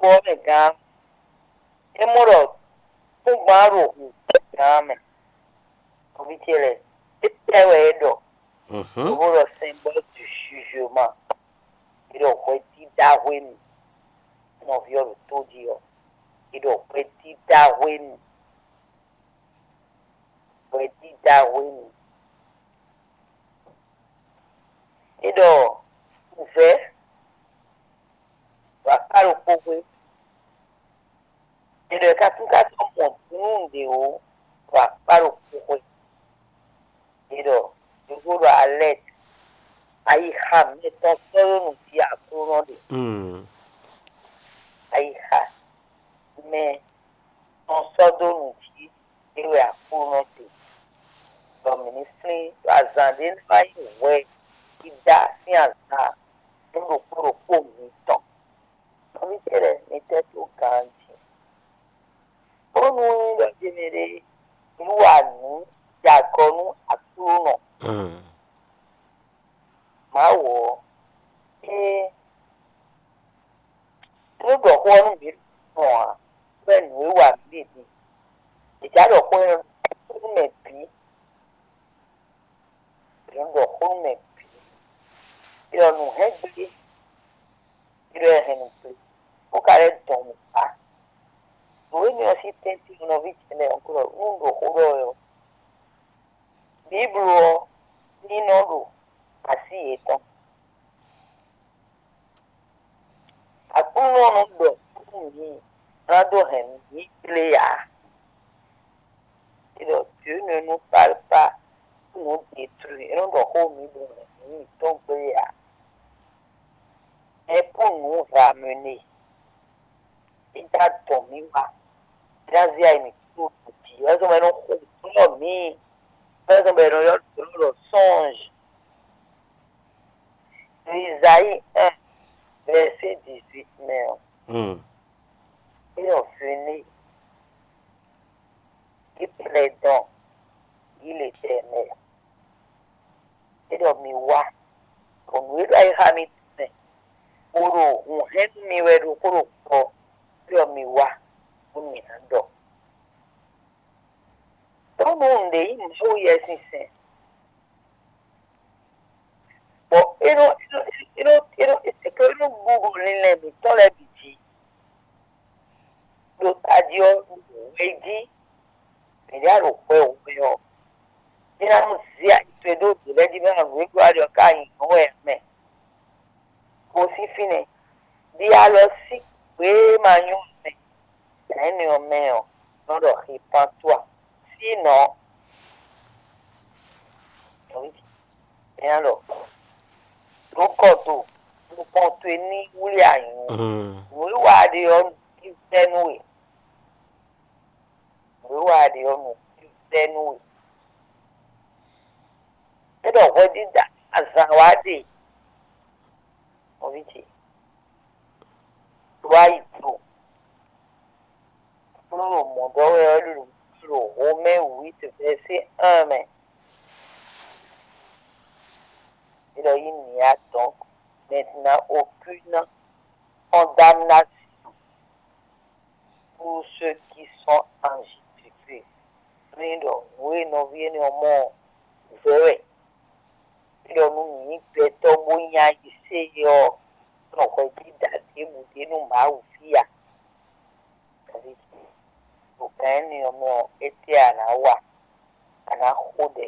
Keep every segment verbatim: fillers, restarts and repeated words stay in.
gbɔ mɛ gán. É mɔ ɖɔ kúngban ɖo hǔn gán mɛ. Nɔví ce lɛ́ɛ, étɛ́ wɛ é ɖɔ? Lobo ɖɔ symbole du jugement. É ɖɔ hwɛdídá hwenu. Nɔví ɔ́ ɖo tó jí ɔ́, é ɖɔ hwɛdídá hwenu. Hwɛdídá hwenu. É ɖɔ wǔvɛ́ ɖo akpá ɖokpó xwé. È ɖɔ è ka kún ka sɔ́ mɔ nǔɖé ó ɖo akpá ɖokpó xwé. È ɖɔ yǒxo ɖɔ alɛ́t, ayixa mɛ tɔn sɔ́ ɖó nǔ jí Aklúnɔ ɖe. Ayixa mɛ tɔn sɔ́ dó nǔ jí é wɛ Aklúnɔ ɖe. Bɔ mǐ ní flín ɖo azǎn ɖé ná wá nyí hwɛ dídá sín azǎn nú ɖokpó ɖokpó mitɔn. Nɔví ce lɛ́ɛ, mi tɛ́ dó ganjí, bónú é nyí ɖɔ jɛ́n mɛɖé ní wa nǔ jɛ agɔ nú Aklúnɔ. Mawu ɔ́, é nú ɖɔ xó ɔ́ nú mǐ ɖo ǎ, bɔ é nǔ e wa mǐ ɖe din. È já ɖɔ xó énɛ́ nú mɛ bǐ. È nɔ ɖɔ xó nú mɛ bǐ. È nɔ nǔ hɛn gbé, è nɔ hɛn nǔ gbé, bó ka lɛ́ dɔn nǔ kpá. Nǔ énɛ́ ɔ́ sín tɛ́ntin nɔví ce lɛ́ɛ ɔ́, nú un ɖo xó ɖɔ wɛ ɔ́, Bíblu ɔ́ ní nɔ ɖo así yětɔn. Aklúnɔ nɔ ɖɔ nú mǐ ná dó hɛn mǐ kplé ǎ. É ɖɔ Dieu ne nous parle pas pour nous détruire, é nɔ ɖɔ xó mǐ ɖo hɛn mǐ mitɔn kplé ǎ. Mais pour nous ramener. É dó adɔn mǐ wá. É ná zé ayi mǐtɔn ɖo jǐ. É zɔ́n bɔ é nɔ xo nǔ mǐ. É zɔ́n bɔ è nɔ ylɔ́ nǔ ɖɔ sɔ́nj. Ɖo Izayi un, vɛ̌si dix-huit mɛ ɔ́, é ɖɔ venez, et plaidons, dit l'Éternel. É ɖɔ mi wá, bɔ nǔ e ɖo ayixa mitɔn mɛ, bó ɖo hǔn hɛn nú mi wɛ ɖokpó ɖokpó ɔ́, é ɖɔ mi wá, bónú mi ná ɖɔ. Bónú nǔɖé nyí Mawu Yɛsinsɛn, bɔ é nɔ é nɔ é nɔ é nɔ é nɔ é nɔ ɖu ɖo linlɛn mǐtɔn lɛ́ɛ bǐ jí. Ɖo tají ɔ́, hwɛ jí mǐ ɖa ɖo hwɛ hwɛ ɔ́, é ná nɔ zé ayi towe ɖó vǐ lɛ́ɛ jí bɔ é ná nǔ e ɖó ali ɔ́ ká nyi nǔ wɛ mɛ. Gosín fínɛ́, ɖi alɔ sín gbě e ma nyɔ́ mɛ, nɛ̌ nɔ mɛ ɔ́ nɔ ɖɔ xi pán tó a? Sínɔ, é ná ɖɔ ɖó kɔ do, nukɔn towe ní wlí anyǔ. Nǔ e wa ɖe ɔ́, nǔ vɛ́ nú we. Nǔ e wa ɖe ɔ́, nǔ vɛ́ nú we. É ɖɔ hwɛdídá azǎn wa ɖe, nɔví ce, wá yi do. Aklúnɔ ɖo mɔ̌ ɖɔ wɛ ɔ́, ɖo ɖo Romain huit verset un mɛ. É ɖɔ il n'y a donc maintenant aucune condamnation pour ceux qui sont en Jésus-Christ. Ní ɖɔ nǔ e nɔví énɛ́ ɔ́ mɔ ɔ́, vɛ̌ wɛ. É ɖɔ nú mǐ gbɛtɔ́ bó nyí ayisé ɔ́, nɔ hwɛjida ɖěbǔ ɖe nú Mawu ví a? Ɖo gǎn énɛ́ ɔ́ mɛ ɔ́, étɛ́ a nǎ wa? A nǎ xo ɖɛ,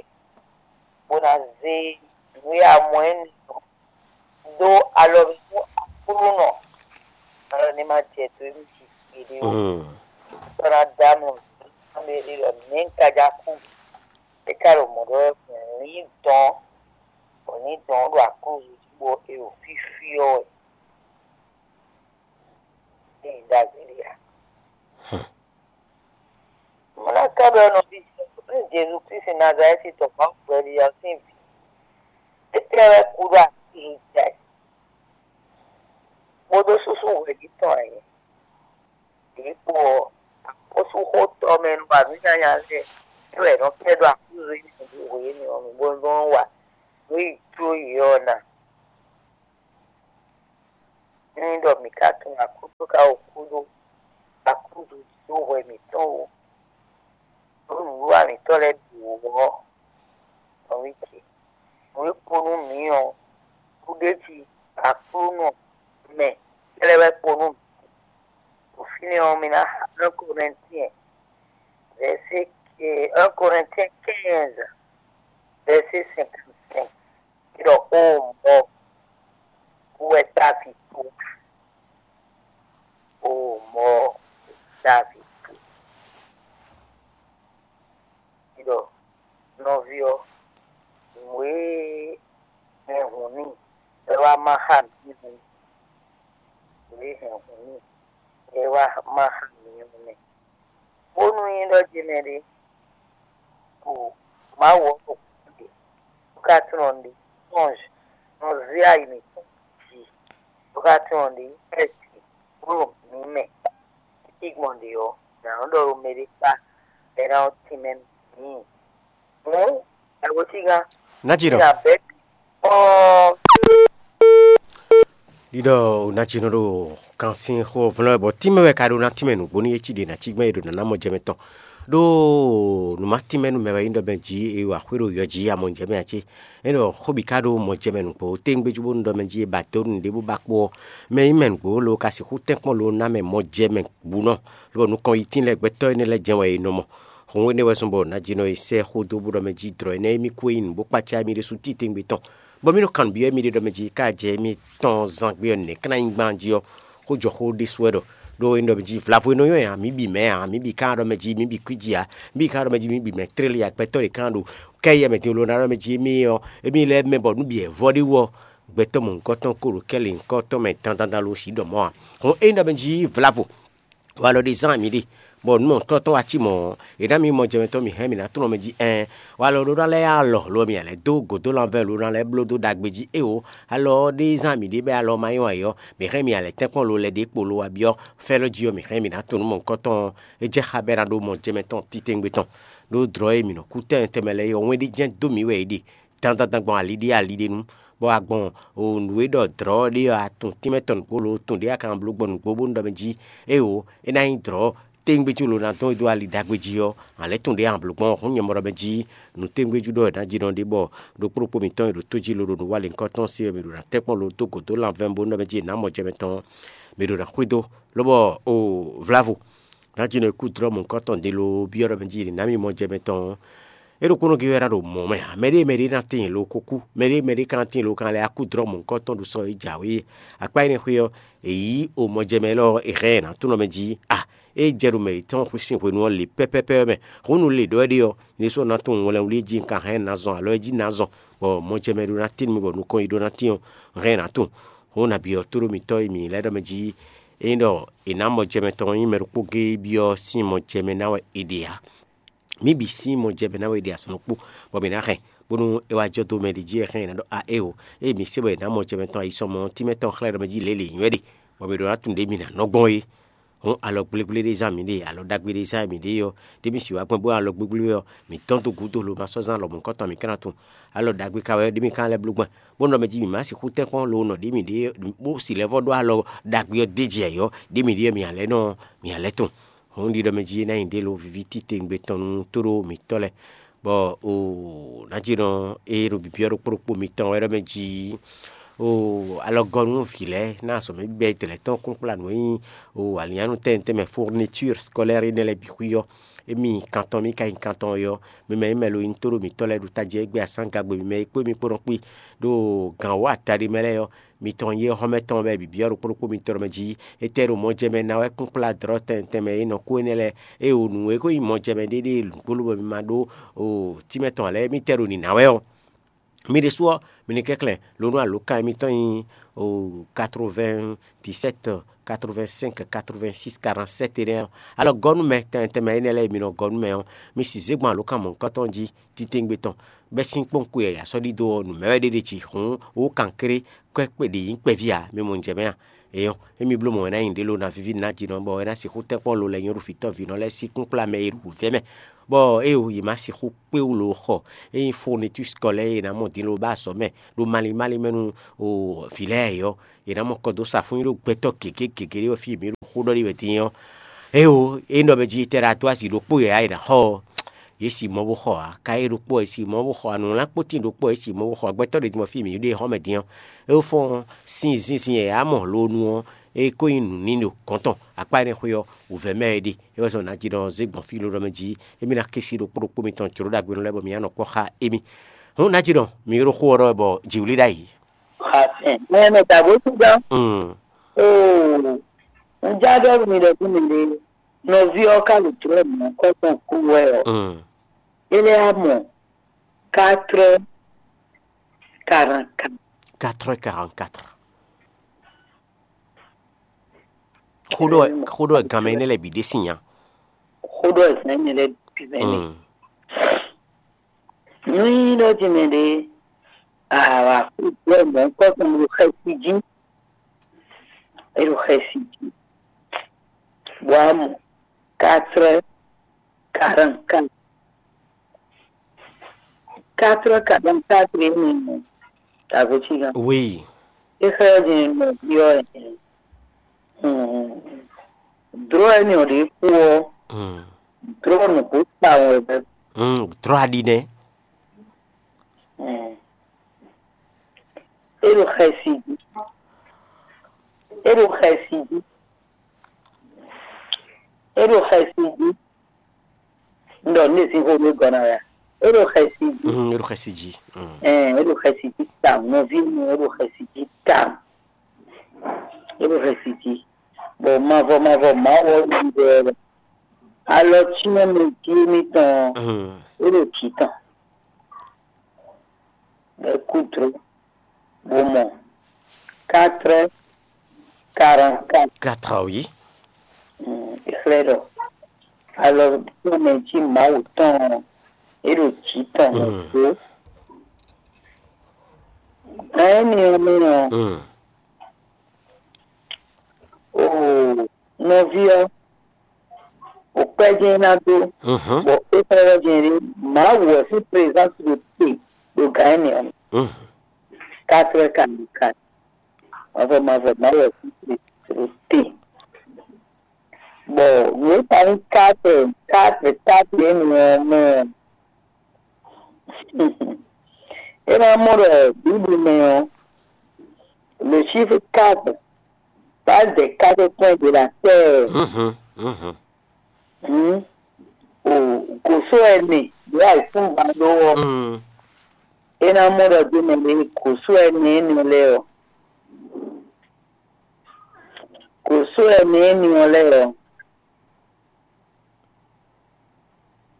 bó ná zé nǔ e a mɔ énɛ́ ɔ́ dó alɔ mɛ nú Aklúnɔ, alɔ ní ma jɛ dó émí jí gbeɖé ó. Bó ná dɔ́ amlɔ mɛ ɖé ɖɔ nɛ̌ un ka já kú? É ka ɖo mɔ̌ ɖɔ wɛ, lǐndɔ̌n, bɔ lǐndɔ̌n ɔ́ ɖo aklúzu jí bɔ è ɖo fífí ɔ́ wɛ. Ée ɖagbe ɖé ǎ. Mo ná ka ɖɔ nɔví ce, nú Jezu Klísu Nazalɛ́ti tɔn Mawu gbɛɖe ɔ́ sín vǐ, étɛ́ wɛ kú ɖo aklúzu jí a? Kpódó súsú hwɛ̌ jí tɔn ǎ é. Vǐ kpo ɔ́, axɔ́súxotɔ́ mɛ nú wa nǔ nyanya lɛ́ɛ, é wɛ è nɔ kɛ ɖó aklúzu nyi nǔɖuɖu hwenu ɔ́, mǐ bo nɔ wa nǔ e jló yě ɔ́ ná. Ényí ɖɔ mǐ ka tunwun Aklúnɔ ka o kú ɖó akúdu jí ɖó hwɛ mǐtɔn wú, ɖó nǔwiwa mǐtɔn lɛ́ɛ bǐ wú ɔ́, nɔví ce, nǔ e kpo nú mǐ ɔ́, kúɖéjí Aklúnɔ mɛ kɛ́ɖɛ́ wɛ kpo nú mǐ. Ɖo fínɛ́ ɔ́, mi ná xa un Corinthiens, verset, un Corinthiens quinze, verset cinquante-cinq. Ɖɔ: "O mɔ̌, wú wɛ távi kú. O mɔ̌, távi kú." Ɖɔ: "Nɔví ɔ́, nǔ e hɛn hǔn n'i wɛ wá má xa mǐ hǔn, nǔ e hɛn hǔn n'i wɛ wá má xa mǐ ɔ́ nɛ́." Bónú nyí ɖɔ ce mɛ ɖé, ko Mawu ɔ́ ɖo kúkú ɖe, bó ka tunwun ɖe, sɔ́nj nɔ zé ayi mǐtɔn jí, bó ka tunwun ɖe nyí xɛsi bó ɖo mǐ mɛ. Títí gbɔn ɖě ɔ́, nǎ nɔ ɖɔ ɖo mɛɖé kpá bɔ é ná nɔ tínmɛ nú mǐ. Hǔn, Agotígán, Ná jí ɖɔ. Ná bɛ́ ɔ́. Ɖiɖɔ ná jí nɔ ɖo kan sín xó vlɔ́ wɛ bɔ tínmɛ wɛ ka ɖó ná tínmɛ nǔgbó nú é cí ɖě ná cí gbɛ́ é ɖo nǎ ná mɔ jɛ mɛ tɔn. Ɖó nǔ ma tínmɛ nú mɛ wɛ nyí ɖɔ mɛ jí é wa xwé ɖo yɔ jí amɔ jɛ mɛ ǎ cé? É ɖɔ xó bǐ ka ɖó mɔ jɛ mɛ nǔgbó téŋgbéjú bónú ɖɔ mɛ jí é ba dó nǔɖé bó ba kpo ɔ́, mɛ nyí mɛ nǔgbó lo ka sixú tɛ́nkpɔ́n lo ná mɛ mɔ jɛ mɛ bǔnɔ, lobɔ nukɔn yi tín lɛ́ɛ gbɛtɔ́ énɛ́ lɛ́ɛ jɛ́n wɛ è nɔ mɔ. Hǔn énɛ́ wɛ zɔ́n bɔ nǎjínɔ e sɛ́ xó dó bó ɖɔ mɛ jí dlɔ̌ énɛ́ émí kú e nyí nǔ bó kpácá émí ɖésú titewungbe tɔn, bɔ mí nɔ kanbyɔ́ émí ɖe ɖɔ mɛ jí ká jɛ émí tɔn zán gbé ɔ́ nɛ̌ ká ná nyí gbán jí ɔ́, xó jɔ xó ɖésú wɛ ɖɔ. Ɖó é nɔ mɛ jí vlavo e nɔ nywɛ́ ǎ, mǐ bǐ mɛ ǎ, mǐ bǐ ka ɖɔ mɛ jí mǐ bǐ kwíji ǎ, mǐ bǐ ka ɖɔ mɛ jí mǐ bǐ mɛ tlélí ǎ, gbɛtɔ́ ɖě kan ɖo kɛ yɛ mɛ din lo ná ɖɔ mɛ jí émí ɔ́, émí lɛ́ mɛ bɔ nǔ bǐ wɛ vɔ ɖé wú ɔ́, gbɛtɔ́ mɔ̌hunkɔtɔn ko ɖo kɛ́ lěhunkɔtɔn mɛ dandan dan lo sǐ ɖɔ mɔ̌ ǎ. Hǔn é nyí ɖɔ mɛ jí vlavo. Walɔ ɖé zán mǐ ɖe, bɔ nǔ mɔ̌hunkɔtɔn wá cí mɔ̌ ɔ́, è nǎ mǐ mɔ jɛmɛtɔ́ mǐ hɛn mǐ ná tlɔ́n mɛ jí ɛɛn. Walɔ ɖó ná lɛ́ yá alɔ lo ɔ́, mǐ ná lɛ́ dó gǒdó lanvɛ́ lo ná lɛ́ bló dó ɖagbe jí éwo. Alɔ ɔ́ ɖé zán mǐ ɖe bɔ alɔ ma nyɔ́ ayǐ ɔ́, mǐ hɛn mǐ ná lɛ́ tɛ́nkpɔ́n lo lɛ́ ɖě kpo lo wá byɔ́ fɛ́lɔ́ jí ɔ́, mǐ hɛn mǐ ná tunwun nǔ mɔ̌hunkɔtɔn ɔ́, é jɛ xá bɔ é ná ɖó mɔ jɛmɛtɔ́ titewungbe tɔn. Ɖó dlɔ̌ e mǐ nɔ kú tɛnmɛ tɛnmɛ lɛ́ɛ é ɔ́, wɛn ɖé jɛ́n dó mǐ wɛ é ɖe dandan gbɔn ali ɖé ali ɖé nu, bɔ a gbɔn nǔ e ɖɔ dlɔ̌ ɖé ɔ́, a tunwun tínmɛ tɔn nǔgbó lo tun ɖě a ka bló gbɔn nǔgbó bónú ɖɔ mɛ jí éwo é ná nyí dlɔ̌ téŋgbéjú lo ná dɔn e dó ali ɖagbe jí ɔ́, a lɛ́ tunwun ɖě a blǒ gbɔn hǔn nyɛ mɔ ɖɔ mɛ jí nǔ téŋgbéjú ɖɔ è nǎ jí nɔ ɖé bɔ ɖokpó ɖokpó mǐtɔn e ɖo tó jí lo ɖo nǔ wa lěhunkɔtɔn se ɔ́, mǐ ɖo ná tɛ́nkpɔ́n lo dó gǒ dó lanvɛ́ bónú ɖɔ mɛ jí è nǎ mɔ jɛ mɛ tɔn, mǐ ɖo ná xwedó, lobɔ o vlavo. Nǎjínɔ e kú dlɔ́ mɔ̌hunkɔtɔn ɖě loo byɔ́ ɖɔ mɛ jí nǐ ná mì mɔ jɛ mɛ tɔn ɔ́, é ɖokpónɔ gé wɛ ná ɖo mɔ̌ mɛ ǎ. Mɛɖée mɛɖée ná tíin lo kúkú, mɛɖée mɛɖée ka ná tíin lo kan lɛ́ á kú dlɔ́ mɔ̌hunkɔtɔn ɖo sɔ e jǎwe é. Akpá énɛ́ xwé ɔ́, è yǐ o mɔ jɛ mɛ élɔ́ ɔ́, è hɛn ɛ nǎ tunwun mɛ jí a, ée jɛ ɖo mɛ yětɔn sín hwenu ɔ́ lě pɛ́pɛ́pɛ́ ɔ́ mɛ. Hǔn nu le ɖɔ é ɖe ɔ́, nyɛ ɖésú ɔ́ ná tunwun wlɛnwlí e jí un ka hɛn ná zɔn alɔ e jí ná zɔn, bɔ mɔ jɛ mɛ ɖó ná tíin nú mì bɔ nukɔn yi ɖó ná tíin ɔ́, un hɛn ɛ nǎ tunwun. Hǔn nǎ byɔ́ tóɖó mǐtɔn e mǐ lɛ́ ɖɔ mɛ jí Ényí ɖɔ è nǎ mɔ jɛmɛ tɔn ɔ́, nyí mɛ ɖokpó géé byɔ́ sín mɔ jɛmɛ ná wɛ è ɖe ǎ. Mǐ bǐ sín mɔ jɛmɛ ná wɛ è ɖe azɔn ɖokpó, bɔ mǐ ná hɛn, bónú é wá jɔ dó mɛ ɖě jí wɛ hɛn è nǎ ɖɔ a éeǒ, ée mǐ se bɔ è nǎ mɔ jɛmɛ tɔn ayi sɔmɔ ɔ́, tínmɛ tɔn xlɛ́ ɖɔ mɛ jí lě lě nyí wɛ ɖe, bɔ mǐ ɖó ná tunwun ɖě mǐ ná nɔ gbɔn é. Hǔn alɔ gblégblé ɖé zán mǐ ɖe, alɔ ɖagbe ɖé zán mǐ ɖe ɔ́, ɖě mǐ sixú wá gbɔn bó alɔ gblégblé ɔ́, mǐ dɔn dó gǔdo lo ma sɔ́ zán lɔmɔ̌ kɔ́tɔn mǐ ka ná tunwun. Alɔ ɖagbe ka wɛ ɖě mǐ ka lɛ́ bló gbɔn, bó nɔ mɛ jí mǐ má sixú tɛ́nkpɔ́n lo nɔ ɖě mǐ ɖe bó si lɛ́ vɔ́ ɖó alɔ ɖagbe ɔ́ d'é jɛ yɔ̌, ɖě mǐ ɖe ɔ́ mǐ ǎ lɛ́ nɔ mǐ ǎ lɛ́ tɔn. Hǔn ɖiɖɔ mɛ jí é ná nyi ɖě lo víví titewungbe tɔn nú tóɖó mǐtɔn lɛ́ɛ, bɔ o nǎjínɔ e ɖo byɔ́ ɖokpó ɖokpó mitɔn wɛ ɖɔ mɛ jí o alɔgɔ́nú vǐ lɛ́ɛ ná azɔ̌ mɛ bíbɛ́ dlɛ̌ tɔn kún kplá nǔ e nyí o alǐnnyánú tɛnmɛ tɛnmɛ fourniture scolaire énɛ́ lɛ́ɛ bǐ xwí ɔ́, émí kan tɔn mì ka nyí kan tɔn ɔ́, mi mɛ e mɛ lo nyí tóɖó mǐtɔn lɛ́ɛ ɖo tají ɔ́, é gbé asán gagbe mi mɛ e kpó mi kpó nɔ kpí ɖo gǎn wǒ ataɖi mɛ lɛ́ɛ ɔ́, mitɔn yi xɔ́mɛ tɔn wɛ bǐ byɔ́ ɖokpó ɖokpó mitɔn mɛ jí. Étɛ́ ɖo mɔ jɛ mɛ ná wɛ kún kplá dlɔ̌ tɛnmɛ tɛnmɛ e nɔ kú énɛ́ lɛ́ɛ, ée wǒ nǔ e ko nyí mɔ jɛ mɛ ɖéɖée nǔgbó lobɔ mi ma ɖó tínmɛ tɔn ǎ lɛ́ɛ, émítɛ́ ɖo nǐ ná wɛ ɔ́? Mi ɖésú ɔ́, mi ní kɛnklɛ́n lo nú alǒkan émítɔn nyí quatre-vingt-dix-sept, quatre-vingt-cinq, quatre-vingt-six, quarante-sept énɛ́ ɔ́. Alɔ gɔ́ nú mɛ tɛnmɛ tɛnmɛ énɛ́ lɛ́ɛ e mi nɔ gɔ́ nú mɛ ɔ́, mi sixú zé gbɔn alǒkan mɔ̌hunkɔtɔn jí titewungbe tɔn, bɛ́ sín kpɔ́nwun kpo yǎyá sɔ́ ɖidó ɔ́, nǔ mɛ wɛ ɖé ɖe jí hǔn wú kankéré kɔ́ kpé ɖě nyí kpɛví ǎ, mi mɔ un jɛ mɛ a? Eyɔn, émí bló mɔ̌ wɛ ná nyi ɖě lo ná víví ná jínɔ bɔ é ná sixú tɛ́nkpɔ́n lo lɛ́ɛ nyɔ́ɖu fǐtɔ́ vǐnɔ lɛ́ɛ sín kún kplá mɛ e ɖo wǔvɛ́ mɛ, bɔ é o yě má sixú kpé wú lo xɔ. Ényí fourniture scolaire e è nǎ mɔ din lo ba azɔ̌ mɛ ɖo malín málín mɛ nú vǐ lɛ́ɛ é ɔ́, è nǎ mɔ kɔ dó sa fún nyi ɖó gbɛtɔ́ gěgé gěgé ɖé wɛ fí e mǐ ɖo xó ɖɔ ɖi wɛ din ɔ́. É o, é nɔ mɛ jí tɛ́ ɖo atú asi ɖokpó yě ǎ è nǎ xɔ ɔ́, yě si mɔ bó xɔ ǎ. Ka é ɖokpó ɔ́, yě si mɔ bó xɔ ǎ. Nǔwlánkpó tíin ɖokpó ɔ́, yě si mɔ bó xɔ ǎ. Gbɛtɔ́ ɖě din bɔ fí e mǐ ɖe xɔ mɛ din ɔ́, é fɔ́n sín zinzin e yě á mɔ lo nu ɔ́, é ko nyí nǔ n'i ɖo gɔ̌n tɔn. Akpá énɛ́ xwé ɔ́, wǔvɛ́ mɛ wɛ é ɖe. É wɛ zɔn nǎ jí ɖɔ zé gbɔn fí ló ɖɔ mɛ jí émí ná ké sí ɖokpó ɖokpó mitɔn jlǒ ɖagbe nú lɛ́ɛ bɔ mǐ ná nɔ kpɔ́ xá émí. Hǔn ná jí ɖɔ mǐ ɖo xó ɔ́ ɖɔ wɛ bɔ jǐwlí ɖ'ayǐ. Xafɛn mɛ mɛ ta bó tún gán. Mm. Oo, un já ɖɔ nú mi ɖɔ fún mi ɖe, nɔví ɔ́ ka ɖo jlɔ́ mɔ̌ kɔ́ tɔn kú wɛ ɔ́, Mm. é lɛ́ á mɔ quatre heures quarante-quatre. Quatre heures quarante-quatre. Xó ɖɔ xó ɖɔ ganmɛ énɛ́ lɛ́ɛ bǐ ɖe sín nya. Xó ɖɔ zɛ̌n mi lɛ́ɛ bǐ mɛ nɛ. Mm. Nú nyí ɖɔ jí mɛ ɖe, àwà kú jlɔ́ mɔ̌ kɔ́ tɔn ɖo xɛsi jí. É ɖo xɛsi jí. Bɔ a mɔ quatre heures quarante-quatre. Quatre heures quarante-quatre énɛ́ ɔ́, ta vo cí gán. Oui. É xlɛ́ din nɔví ɔ́ ɛ. Dlɔ̌ énɛ́ ɔ́ ɖě kú ɔ́, Mm. Dlɔ̌ nǔgbó tawun wɛ bɛ́. Mm. Dlɔ̌ aɖi nɛ́. Mm. É ɖo xɛsi jí. É ɖo xɛsi jí. É ɖo xɛsi jí. Un ɖɔ nǔ ɖé sín xó ɖé gɔ́ ná wɛ a? É ɖo xɛsi jí. Mm, é ɖo xɛsi jí. Mm. Ɛn, é ɖo xɛsi jí tawun. Nɔví mi, é ɖo xɛsi jí tawun. É ɖo xɛsi jí. Bɔ mavɔ mavɔ Mawu ɔ́ ɖi ɖɛ alɔ cyɔ́n mɛ jí émítɔn ɔ́, Mm. é ɖo jǐ tɔn. Bɔ é kú dló, bó mɔ quatre heures quarante-quatre. Quatre heures, oui. Mm, é xlɛ́ ɖɔ alɔ tɔn mɛ jí Mawu tɔn ɔ́, é ɖo jǐ tɔn mɛ Mm. dó. Gan énɛ́ ɔ́ mɛ ɔ́, Mm. oo, nɔví ɔ́, o kpɛ́ jɛ́n é ná dó, Mhm. bɔ é xlɛ́ ɖɔ jɛ́n ɖé Mawu ɔ́ sín présence ɖo te ɖo gan énɛ́ ɔ́ mɛ. Mhm. Quatre heures quarante-quatre. Mavɔ mavɔ Mawu ɔ́ sín présence ɖo te. Bɔ nǔ e ka nyí quatre, quatre, quatre énɛ́ ɔ́ mɛ ɔ́, é ná mɔ ɖɔ Bíblu mɛ ɔ́, le chiffre quatre parle des quatre coins de la terre. Mhm, mhm. Hmm? O gǒsó ɛnɛ ɖě ayǐkúngban ɖó ɔ́, Mm. é ná mɔ ɖɔ dó mɛ ɖě gǒsó ɛnɛ énɛ́ lɛ́ɛ ɔ́. Gǒsó ɛnɛ énɛ́ ɔ́ lɛ́ɛ ɔ́,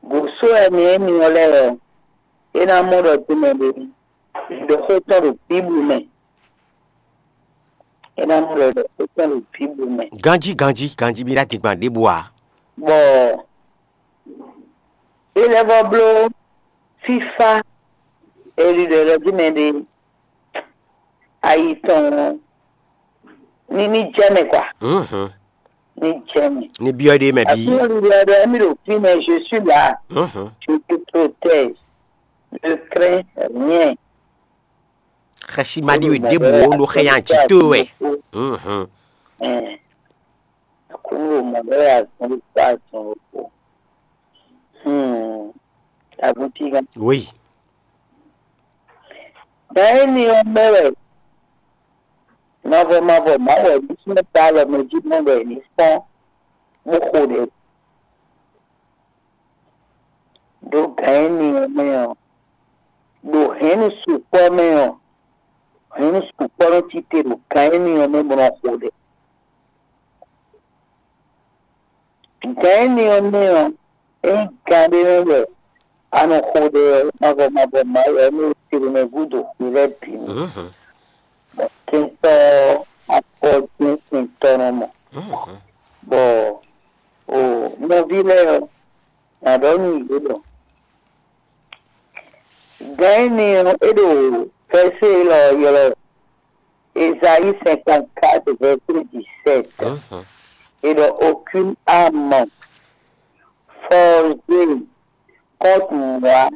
gǒsó ɛnɛ énɛ́ ɔ́ lɛ́ɛ ɔ́, é ná mɔ ɖɔ dó mɛ ɖě ɖɔ xó tɔn ɖo Bíblu mɛ. É ná mɔ ɖɔ ɖɔ xó tɔn ɖo Bíblu mɛ. Ganjí, ganjí, ganjí, mi ná din gbɔn ɖěbǔ ǎ. Bɔ é lɛ́ vɔ bló fífá Elíɖɔ ɖɔ jí mɛ ɖé ayi tɔn ní ní jɛ mɛ kwa. Mhm. Ní jɛ mɛ. Ní byɔ́ ɖé mɛ bí. Afi Elíɖɔ ɖɔ émí ɖo fínɛ́, je suis là. Mhm. Je te protège. Ne crains rien. Xɛsi ma ɖi wɛ ɖěbǔ wo ɖo xɛ yan jǐ to wɛ. Mhm. Ɛɛ. Aklúnɔ ɖo mɔ̌ ɖɔ wɛ azɔn ɖokpó azɔn ɖokpó. Hmm. Aguntígán. Oui. Gan énɛ́ ɔ́ mɛ wɛ mavɔ mavɔ Mawu ɔ́ ɖésú nɔ ta alɔ mɛ jí mɔ bɔ è ní fɔ́n bó xo ɖɛ. Ɖo gan énɛ́ ɔ́ mɛ ɔ́, ɖo hɛ̌nnu sukpɔ́ mɛ ɔ́, hɛ̌nnu sukpɔ́ nɔ cí te ɖo gan énɛ́ ɔ́ mɛ bó nɔ xo ɖɛ. Gan énɛ́ ɔ́ mɛ ɔ́, ényí gan ɖé nɔ wɛ a nɔ xo ɖɛ ɔ́, mavɔ mavɔ Mawu ɔ́ nɔ te ɖo mɛ gúdo xwi lɛ́ɛ bǐ mɛ. Mhm. Bɔ kɛntɔ́ ɔ́, akɔ jɛ́n kɛntɔ́ nɔ mɔ. Mhm. Bɔ o nɔví lɛ́ɛ ɔ́, nǎ ɖɔ nú yě ɖɔ gan énɛ́ ɔ́, é ɖo vɛ̌sé élɔ́ ɔ́ ylɔ́ wɛ. Ésaïe cinquante-quatre, verset dix-sept. Mhm. Et donc, aucune âme forgée contre moi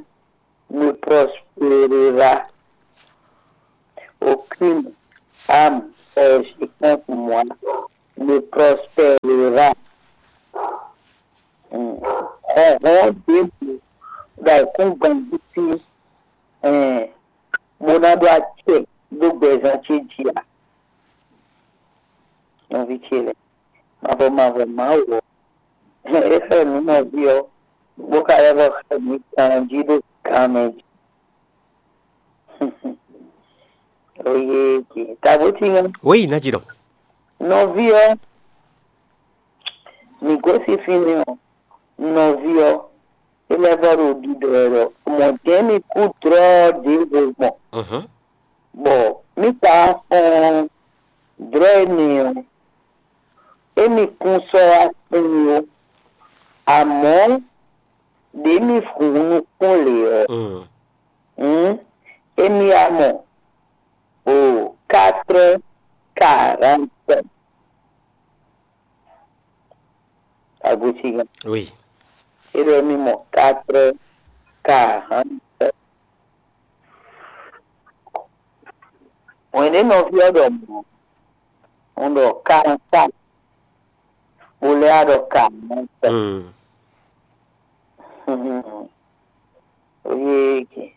ne prospérera. Aucune âme forgée contre moi ne prospérera. Hmm. Hlɔ̌nhlɔ́n ɖěbǔ ɖo ayǐkúngban jí sín, ɛn, bó ná ɖó acɛ ɖó gbɛzán ce jí ǎ. Nɔví ce lɛ́ɛ, mavɔ mavɔ Mawu ɔ́, é xlɛ́ nǔ nɔví ɔ́, bó ka lɛ́ vɔ xlɛ́ mǐ ganjí ɖo gan mɛ jí. Oyee ce, tabu tín ɔ́, Oui, Najidɔ. Nɔví ɔ́, mǐ gosín fínɛ́ ɔ́, nɔví ɔ́, é lɛ́ vɔ ɖo ɖiɖɔ wɛ ɖɔ mɔ̌ jɛ́n mì kú dlɔ́ ɖěvo gbɔn, Mhm. bɔ mì ka xɔ́n dlɔ́ énɛ́ ɔ́, émí kún sɔ́ wá kún ó, amɔ̌ ɖě mì hun nukún lě ɔ́, Mm. hǔn émí wá mɔ o quatre quarante. Agosígan. Oui. É ɖɔ émí mɔ quatre quarante. Hwɛ̌n ɖé nɔví ɔ́ ɖɔ mɔ̌, un ɖɔ quarante-quatre, bó lɛ́ wá ɖɔ quarante. Mm. Oyee ce.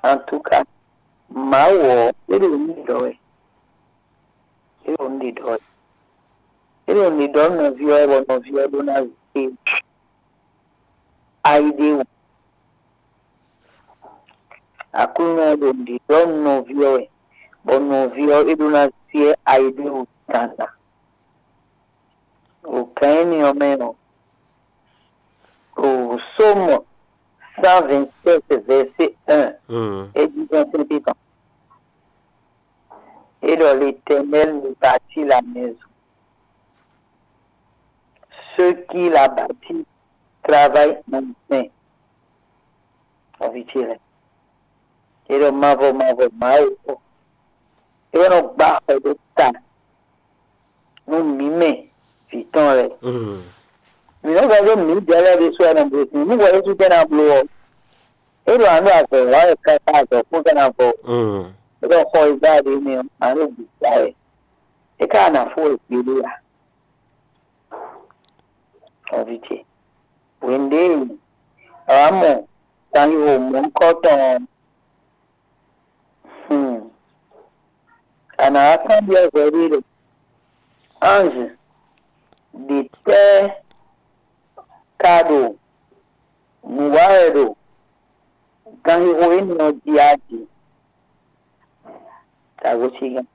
En tout cas, Mawu ɔ́, é ɖo nǔ ɖiɖɔ wɛ. É ɖo nǔ ɖiɖɔ wɛ. É ɖo nǔ ɖiɖɔ nú nɔví ɔ́ wɛ, bɔ nɔví ɔ́ ɖó ná zé ayi ɖé wú. Aklúnɔ ɔ́ ɖo nǔ ɖiɖɔ nú nɔví ɔ́ wɛ, bɔ nɔví ɔ́ é ɖó ná zé ayi ɖé wú dandan. O gan énɛ́ ɔ́ mɛ ɔ́, o Sómu cent vingt-sept, verset un, Mm. é ɖi xɛ́ntɛ́n tɔn. É ɖɔ: L'Éternel ne bâtit la maison. Ceux qui la bâtit travaillent en vain. Nɔví ce lɛ́ɛ, é ɖɔ mavɔ mavɔ Mawu ɔ́, é wɛ nɔ gbá xɔ dó ta nú mǐ mɛ vǐ tɔn lɛ́ɛ. Mm. Mǐ nɔ vɛ́ ɖó mǐdɛɛ lɛ́ɛ ɖésú wɛ nɔ bló sin. Nú hwɛ Yésu tɛ́ ná bló ɔ́, é ɖo ǎ ɖo azɔ̌ wa wɛ káká azɔ̌ kún ka ná vɔ. Mm. É ɖɔ xɔ e gbá ɖě mɛ ɔ́, ǎ ɖo bǐ gbá wɛ. É ka ná fó wɛ gbeɖé ǎ. Nɔví ce, hwenu ɖě e a wǎ mɔ ganxixo mɔ̌hunkɔtɔn ɔ́, hmm, a nǎ wá kanbyɔ́ hwɛɖée ɖɔ: Anji ɖě tɛ́ ka ɖo nǔ wa wɛ ɖo ganxixo énɛ́ ɔ́ jí a jí? Tagosígan,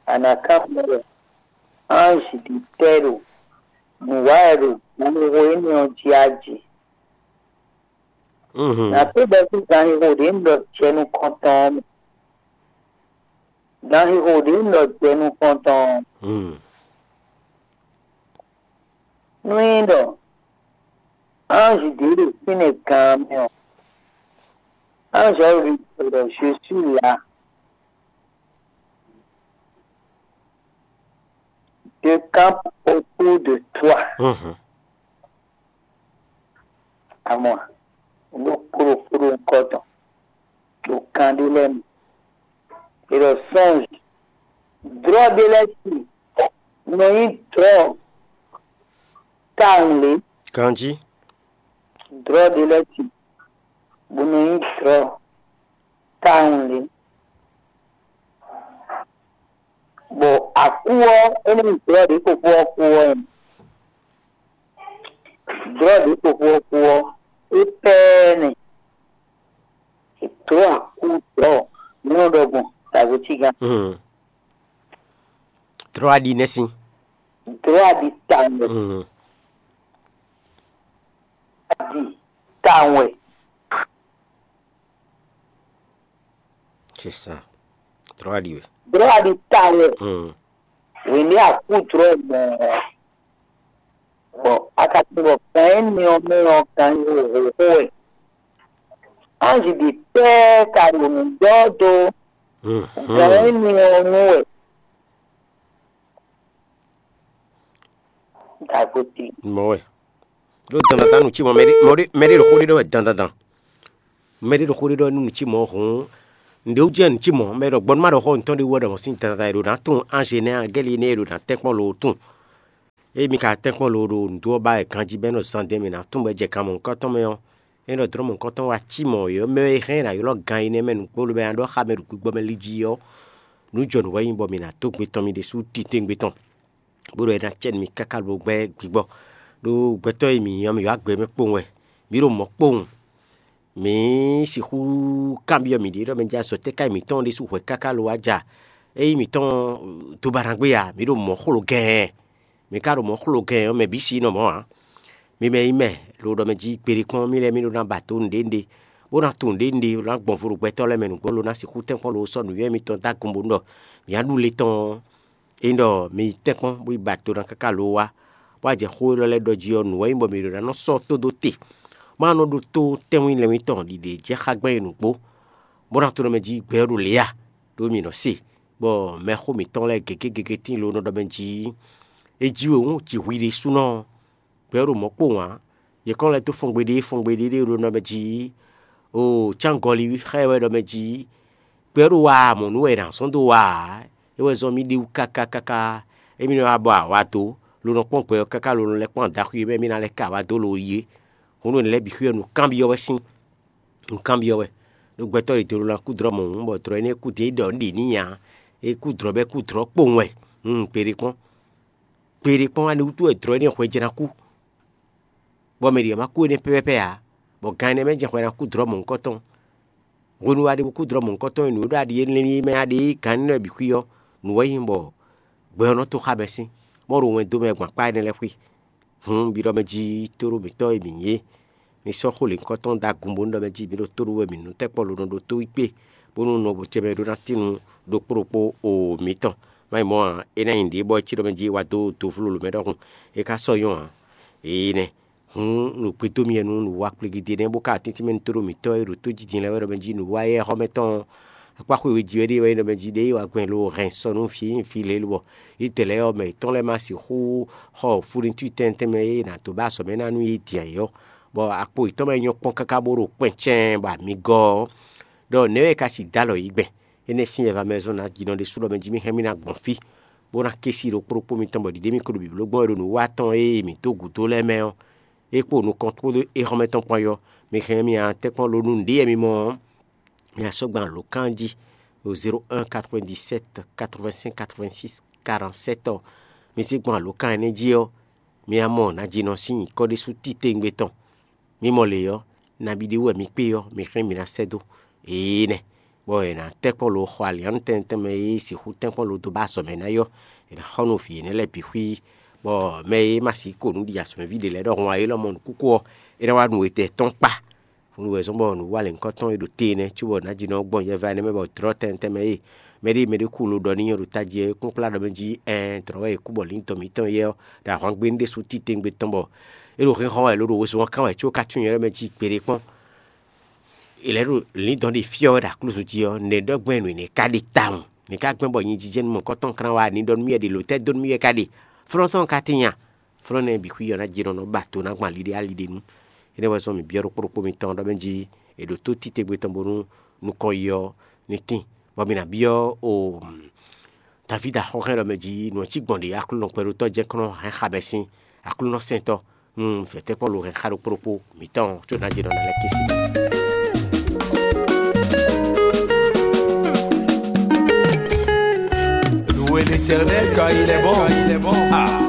a nǎ kanbyɔ́ ɖɔ: Anji ɖě tɛ́ ɖo nǔ wa wɛ ɖo ganxixo énɛ́ ɔ́ jí a jí? Mhm. Nǎ kpé bɛ́ sín ganxixo ɖě un ɖɔ jɛ nukɔntɔn ɔ́ mɛ. Ganxixo ɖě un ɖɔ jɛ nukɔntɔn ɔ́, Mm. nú nyí ɖɔ anji ɖě ɖo fínɛ́ gan ɔ́ mɛ ɔ́, anji ɔ́ ɖo ɖiɖɔ ɖɔ: Je suis là. Je campe autour de toi. Mhm. Amɔ, ɖo kpóɖokpóɖo nukɔn tɔn, ɖo kan ɖé lɛ́ɛ mɛ. È ɖɔ sɔ́nj, dlɔ́ ɖé lɛ́ɛ ti nɔ nyí dlɔ́ tawun lě. Ganjí. Dlɔ́ ɖé lɛ́ɛ ti bó nɔ nyí dlɔ́ tawun lě. Bɔ akú ɔ́, é nɔ nyí dlɔ́ ɖě kpokpó ɔ́ kú ɔ́, dlɔ́ ɖě kpokpó ɔ́ kú ɔ́, é pɛ́ nɛ. Dlɔ́ akú dlɔ́, mǐ nɔ ɖɔ gbɔn tagbo cígán. Hmm. Dlɔ́ aɖi nɛ́ sín. Dlɔ́ aɖi tawun wɛ. Hmm. Aɖi tawun wɛ. C'est ça. Dlɔ́ aɖi wɛ. Dlɔ́ aɖi tawun wɛ. Hmm. Wění akú dlɔ́ mɔ̌. Bɔ a ka tunwun ɖɔ gan énɛ́ ɔ́ mɛ ɔ́, gan e xo xó wɛ. Anji ɖě tɛ́ ka ɖo nǔ ɖɔ dó Gǎn énɛ́ ɔ́ nú wɛ. Dagoti. Mɔ̌ wɛ. Ɖó dandandan nǔ cí mɔ̌, mɛɖé mɔ̌ ɖé mɛɖé ɖo xó ɖé ɖɔ wɛ dandandan. Mɛɖé ɖo xó ɖé ɖɔ nú nǔ cí mɔ̌ hǔn, nǔɖé wú jɛ́n nǔ cí mɔ̌, mɛ ɖɔ gbɔn nú má ɖɔ xɔ nǔtɔn ɖé wú wɛ ɖɔ mɔ̌ sín dandandan e ɖo ná tunwun ange nɛ́ a gɛ́li énɛ́ e ɖo ná tɛ́nkpɔ́n lo tunwun. Ée mi ka tɛ́nkpɔ́n lo ɖo nǔɖuɖu ɔ́ ba wɛ ganjí bɔ é nɔ zán dɛn mɛ ná tunwun bɔ é jɛ kan mɔ̌hunkɔtɔn mɛ ɔ́, é nɔ dlɔ́ mɔ̌hunkɔtɔn wá cí mɔ̌ é ɔ́, mɛ e hɛn ná ylɔ́ gan énɛ́ mɛ nǔgbó lobo ná ɖɔ xá mɛ ɖo gbigbɔ mɛ lí jí ɔ́, nǔ jɔ nǔ wɛ nyí bɔ mǐ ná dó gbe tɔn mì ɖésú titewungbe tɔn, bó ɖɔ é ná cɛ nú mì káká lobo gbɛ́ gbigbɔ. Ɖó gbɛtɔ́ e mǐ nyí ɔ́, mǐ wá gbɛ mɛ kpowun wɛ, mǐ ɖo mɔ̌ kpowun. Mǐ sixú kanbyɔ́ mǐɖée ɖɔ mɛ jɛ azɔ̌ tɛ́ ká nyí mǐtɔn ɖésú hwɛ káká lo wá ja? Ényí mǐtɔn do ba ná gbé a, mǐ ɖo mɔ̌ xlo gɛɛn. Mi ka ɖo mɔ̌ xlo gɛɛn ɔ́, mɛ bǐ si nɔ mɔ̌ ǎ. Mi mɛ nyí mɛ lo ɖɔ mɛ jí gbeɖé kpɔ́n mì lɛ́ɛ mì ɖó ná ba dó nǔɖé nǔɖé, bó ná tunwun nǔɖé nǔɖé, bó ná gbɔn vo ɖo gbɛtɔ́ lɛ́ɛ mɛ nǔgbó lo ná sixú tɛ́nkpɔ́n lo sɔ́ nǔnywɛ́ mitɔn dó agun bónú ɖɔ mǐ á ɖu le tɔn ɔ́, é nyí ɖɔ mi yi tɛ́nkpɔ́n bó yi ba do ná káká lo wá, bó wá jɛ xó élɔ́ lɛ́ɛ ɖɔ jí ɔ́, nǔ wɛ nyí bɔ mǐ ɖo ná nɔ sɔ́ tó dó te, bó ná nɔ ɖótó tɛ́nwún lɛ́ɛ mitɔn ɖiɖe jɛ xá gbɛn e nǔgbó, bó ná tunwun ɖɔ mɛ jí gbɛ ɔ́ ɖo lě a, ɖó mǐ nɔ se, bɔ mɛxó mǐtɔn lɛ́ɛ gěgé gěgé tíin lo nɔ ɖɔ mɛ jí é jí we hǔn jǐ hwi ɖésúnɔ ɔ́, gbɛ ɔ́ ɖo mɔ̌ kpowun ǎ. Yě kɔn lɛ́ dó fɔngbe ɖé fɔngbe ɖé ɖé ɖo nɔ mɛ jí, o cángɔli xá ɛ wɛ ɖɔ mɛ jí, gbɛ ɔ́ ɖo wa mɔ̌ nú wɛ è nǎ zɔ́n dó wa ǎ. É wɛ zɔ́n mì ɖe wú káká káká, émí nɔ wá bɔ awǎ dó, lo nɔ kpɔ́n gbɛ ɔ́ káká lo nɔ lɛ́ kpɔ́n adaxwi e mɛ émí ná lɛ́ ka awǎ dó lo yi é. Hǔn nǔ lɛ́ɛ bǐ xwí ɔ́ nǔkanbyɔ́ wɛ sín, nǔkanbyɔ́ wɛ. Ɖó gbɛtɔ́ ɖě dó lo ná kú dlɔ́ mɔ̌ hǔn, bɔ dlɔ̌ énɛ́ kú dě ɖɔ nǔ ɖě n'i ǎ. É kú dlɔ̌ bɔ é kú dlɔ̌ kpowun wɛ. Hun, gbeɖé kpɔ́n. Gbeɖé kpɔ́n, ani wútu wɛ dlɔ̌ énɛ́ hwɛ jɛ ná kú, bɔ mɛ ɖě ɔ́ má kú énɛ́ pɛ́pɛ́pɛ́ ǎ, bɔ gan énɛ́ mɛ jɛ́n hwɛ ná kú dlɔ̌ mɔ̌hunkɔtɔn. Hwenu wá ɖe bó kú dlɔ̌ mɔ̌hunkɔtɔn e nǔ e ɖo aɖi énɛ́ mɛ aɖe gan énɛ́ bǐ xwí ɔ́, nǔ wɛ nyí bɔ gbɛ ɔ́ nɔ tó xá mɛ sín, bɔ ɖo wɛn dó mɛ gbɔn akpá énɛ́ lɛ́ɛ xwí. Hǔn, biɖɔ mɛ jí tóɖó mǐtɔn e mǐ nyí é, mi sɔ́ xó lěhunkɔtɔn dó agun bónú ɖɔ mɛ jí mǐ ɖo tóɖó wɛ mǐ nú tɛ́nkpɔ́n lo nɔ ɖótó wí kpé, bónú nɔ bó jɛ mɛ ɖó ná tín nú ɖokpó ɖokpó o mǐtɔn. Má nyí mɔ̌ ǎ, é ná nyí nǔɖé bɔ é cí ɖɔ mɛ jí é wá dó do flólo mɛ ɖɔhun, é ka sɔ́ nyɔ́ ǎ. Énɛ́. Hǔn, nǔ gbedó mi wɛ nú nǔwa kplégídé nɛ́, bó ka atíntín mɛ nú tóɖó mǐtɔn e ɖo tó jí din lɛ́ɛ wɛ ɖɔ mɛ jí nǔwa éyɛ́ xɔ mɛ tɔn ɔ́, akpá xwé we jí wɛ ɖe wɛ ɖɔ mɛ jí ɖě yi wá gbɛn lo hɛn sɔ nú vǐ nyi vǐ lě lobɔ yi dɛ lɛ́ɛ ɔ́, mɛ yětɔn lɛ́ɛ ma sixú xɔ funitú tɛntɛn mɛ e è nǎ dó ba azɔ̌ mɛ ná nú yě din ayǐ ɔ́, bɔ akpo yětɔn mɛ nyɔ́ kpɔ́n káká bó ɖo kpɛn cɛɛn bɔ amǐ gɔ́ ɔ́, ɖɔ nɛ̌ wɛ è ka si dó alɔ yǐ gbɛn? Énɛ́ sín yɛ va mɛ zɔn ná jí nɔ ɖésú ɖɔ mɛ jí mì hɛn mì ná gbɔn fí, bó ná ké sí ɖokpó ɖokpó mitɔn bɔ ɖiɖe mì ko ɖo bǐbló gbɔn e ɖo nǔ wa tɔn e mǐ dó gǔdo lɛ́ɛ mɛ ɔ́, é kpó nukɔn kpódó éhɔ́mɛ tɔn kpán yɔ. Mi hɛn mì a tɛ́nkpɔ́n lo nú nǔɖé mi mɔ ɔ́, mi a sɔ́ gban lǒ kan jí ɖo zéro un quatre-vingt-dix-sept quatre-vingt-cinq quatre-vingt-six quarante-sept ɔ́. Mi sí gban lǒ kan énɛ́ jí ɔ́, mi a mɔ nǎjínɔ sín nyǐkɔ ɖésú titewungbe tɔn. Mi mɔ lě ɔ́, nabí ɖé wú wɛ mi kpé ɔ́, mi hɛn mì ná sɛ́ dó. Ee nɛ, bɔ è nǎ tɛ́nkpɔ́n lo xɔ alǐannu tɛntɛn mɛ e sixú tɛ́nkpɔ́n lo dó ba azɔ̌ mɛ ná yɔ, è nǎ xɔ nú vǐ énɛ́ lɛ́ɛ bǐ xwí, bɔ mɛ e ma sixú ko nǔ ɖi azɔ̌mɛví ɖě lɛ́ɛ ɖɔhun ǎ é lɔmɔ̌ nǔkúkú ɔ́, é ná wá nu etɛ́ tɔn kpá. Hǔn wɛ zɔ́n bɔ nǔ wa lěhunkɔtɔn e ɖo te énɛ́ cóbɔ nǎjínɔ gbɔn yɛ va énɛ́ mɛ bɔ dlɔ̌ tɛntɛn mɛ e mɛɖé mɛɖé kú lo ɖɔ n'i ɔ́ ɖo tají ɔ́, é kún kplá ɖɔ mɛ jí ɛɛn dlɔ̌ wɛ è kú bɔ lǐndɔ̌n mǐtɔn yɛ ɔ́ ɖo ahwangbe ɖésú titewungbe tɔn bɔ é ɖo hɛn xɔ wɛ lo ɖo wezun ɔ́ kán wɛ có ka tunwun nyɛ ɖɔ mɛ jí gbeɖé kpɔ́n. È lɛ̌ ɖo lǐndɔ̌n ɖe fyɔ́ wɛ ɖo aklúzu jí ɔ́, nɛ̌ ɖɔ gbɛn nǔ énɛ́ ka ɖe tawun? Nɛ̌ ka gbɛn bɔ nyijijɛ nú mɔ̌hunkɔtɔn kán wá ní ɖɔ nú mì wɛ ɖe lǒ tɛ́ dó nú mì wɛ ka ɖe? Flɔ́n tɔn ka tín nya? Flɔ́n nɛ́ bǐ xwí ɔ́ ná jɛ nɔ nɔ ba to ná gbɔn ali ɖé ali ɖé nu. Énɛ́ wɛ zɔ́n mǐ byɔ́ ɖokpó ɖokpó mitɔn ɖɔ mɛ jí è ɖǒ tó títewungbe tɔn bónú nukɔn yi ɔ́ ní tín, bɔ mǐ ná byɔ́ o Davídi axɔ́hɛn ɖɔ mɛ jí nǔ ɔ́ cí gbɔn ɖě Aklúnɔ kpɛɖótɔ́ jɛ́n kɔn nɔ hɛn xa bɛ́ sín Aklúnɔ sɛntɔ́ nú vɛ̌tɛ́kpɔ́ lo hɛn xa ɖokpó ɖokpó mǐtɔn có ná jɛ nɔ ná lɛ́ kɛ́ sí mɛ. Louez l'Éternel car il est bon. Ah.